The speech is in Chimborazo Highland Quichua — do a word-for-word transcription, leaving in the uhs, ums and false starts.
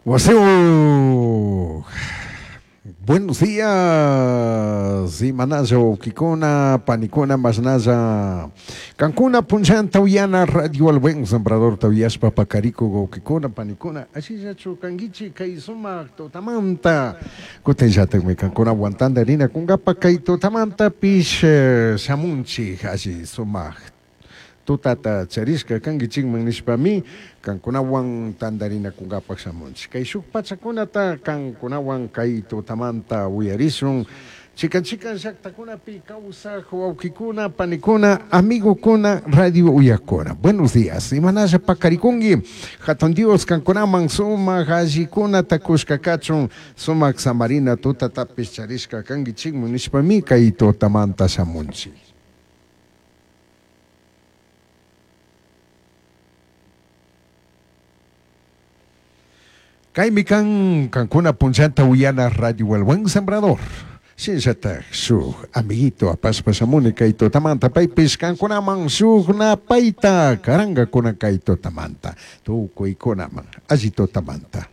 Waseo. Buenos días, imanalla wawkikuna, panikuna, mashnalla. Kankuna punllanta uyana Radio El Buen Sembrador tawiyashpa pakarikuk wawkikuna, panikuna, ashillachu kankichik kay sumak tutamanta. Kutinllatakmi kankunawan tantarinakunkapa kay tutamantapish shamunchik alli sumak tutata charishka kankichikman nishpami kankunawan tantarinakunkapak shamunchik. Kay shuk pachakunata kankunawan kay tutamanta uyarishun. Chikan chikan llaktakunapi kawsak wawkikuna, panikuna, amigokuna, radio uyakuna. Buenos días. Imanalla pakarikunki. Hatun Dios kankunaman sumak allikunata kushka kachun, sumak samarina tutatapish charishka kankichikman nishpami kay tutamanta shamunchik. Kaymi kan kankuna punllanta uyana Radio El Buen Sembrador. Shinallatak shuk amiguito apashpa shamuni kay tutamanta paypish kankunaman shuk napayta karankakuna kay tutamanta tukuykunaman alli tutamanta.